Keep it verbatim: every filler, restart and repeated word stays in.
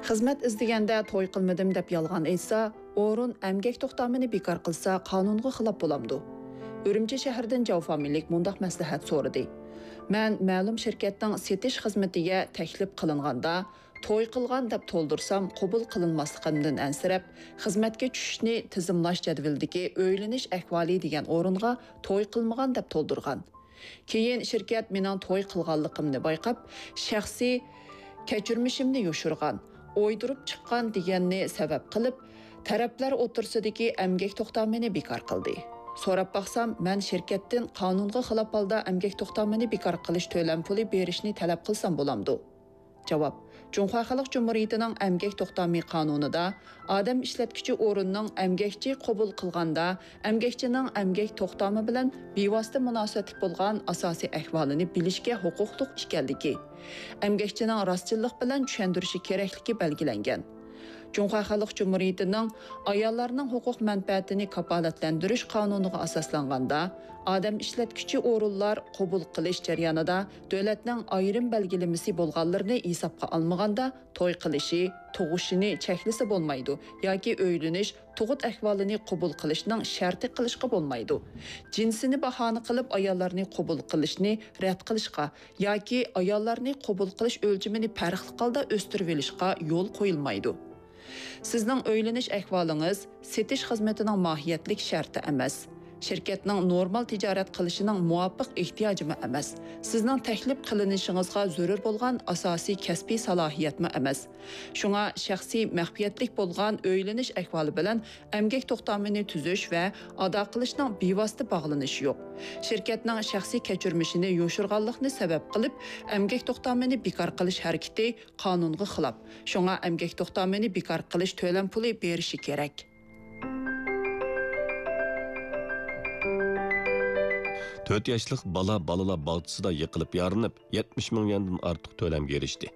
خىزمەت ئىزدىگەندە توي قىلمىدىم دەپ يالغان ئېيتسا، ئورۇن ئەمگەك توختامىنى بىكار قىلسا قانۇنغا خىلاپ بولامدۇ؟ ئۈرۈمچى شەھىرىدىن جاۋ فامىلىلىك مۇنداق مەسلىھەت سورىدى. مەن مەلۇم شىركەتنىڭ سېتىش خىزمىتىگە تەكلىپ قىلىنغاندا، توي قىلغان دەپ تولدۇرسام قوبۇل قىلىنماسلىقىمدىن ئەنسىرەپ، خىزمەتكە چۈشۈشنى تىزىملاش جەدۋىلىدىكى ئۆيلىنىش ئەھۋالى دېگەن ئورۇنغا توي قىلمىغان دەپ تولدۇرغان. كېيىن شىركەت مېنىڭ توي قىلغانلىقىمنى بايقاپ، شەخسىي كەچۈرمىشىمنى يوشۇرغان، ئويدۇرۇپ چىققان دېگەننى سەۋەب قىلىپ، تەرەپلەر ئوتتۇرىسىدىكى ئەمگەك توختامىنى بىكار قىلدى. سوراپ باقسام، مەن شىركەتتىن قانۇنغا خىلاپ ھالدا ئەمگەك توختامىنى بىكار قىلىش تۆلەم پۇلى بېرىشنى تەلەپ قىلسام بولامدۇ؟ جاۋاب. جۇڭخۇا خەلق جۇمھۇرىيىتىنىڭ ئەمگەك توختامى قانۇنىدا ئادەم ئىشلەتكۈچى ئورۇننىڭ ئەمگەكچى قوبۇل قىلغاندا ئەمگەكچىنىڭ ئەمگەك توختامى بىلەن بىۋاسىتە مۇناسىۋەتلىك بولغان ئاساسىي ئەھۋالىنى بىلىشكە ھوقۇقلۇق ئىكەنلىكى، ئەمگەكچىنىڭ راستچىللىق بىلەن چۈشەندۈرۈشى كېرەكلىكى بەلگىلەنگەن. جۇڭخۇا خەلق جۇمھۇرىيىتىنىڭ ئاياللارنىڭ ھوقۇق مەنپەئەتىنى كاپالەتلەندۈرۈش قانۇنىغا ئاساسلانغاندا، ئادەم ئىشلەتكۈچى ئورۇنلار قوبۇل قىلىش جەريانىدا دۆلەتنىڭ ئايرىم بەلگىلىمىسى بولغانلىرىنى ھېسابقا ئالمىغاندا، توي قىلىشى، تۇغۇشىنى چەكلىسە بولمايدۇ ياكى ئۆيلىنىش، تۇغۇت ئەھۋالىنى قوبۇل قىلىشنىڭ شەرتى قىلىشقا بولمايدۇ. جىنسىنى باھانە قىلىپ ئاياللارنى قوبۇل قىلىشنى رەت قىلىشقا ياكى ئاياللارنى قوبۇل قىلىش ئۆلچىمىنى پەرقلىق ھالدا ئۆستۈرۈۋېلىشقا يول قويۇلمايدۇ. سىزنىڭ ئۆيلىنىش ئەھۋالىڭىز سېتىش خىزمىتىنىڭ ماھىيەتلىك شەرتى ئەمەس. شىركەتنىڭ نورمال تىجارەت قىلىشىنىڭ مۇۋاپىق ئېھتىياجىمۇ ئەمەس. سىزنىڭ تەكلىپ قىلىنىشىڭىزغا زۆرۈر بولغان ئاساسىي كەسپىي سالاھىيەتمۇ ئەمەس. شۇڭا شەخسىي مەخپىيەتلىك بولغان ئۆيلىنىش ئەھۋالى بىلەن ئەمگەك توختامىنى تۈزۈش ۋە ئادا قىلىشنىڭ بىۋاسىتە باغلىنىشى يوق. شىركەتنىڭ شەخسىي كەچۈرمىشىنى يوشۇرغانلىقنى سەۋەب قىلىپ، ئەمگەك توختامىنى بىكار قىلىش ھەرىكىتى قانۇنغا خىلاپ. شۇڭا ئەمگەك توختامىنى بىكار قىلىش تۆلەم پۇلى بېرىشى كېرەك. تۆت ياشلىق بالا بالىلار باغچىسىدا يىقىلىپ يارىلىنىپ، يەتمىش مىڭ يۈەندىن ئارتۇق تۆلەمگە ئېرىشتى.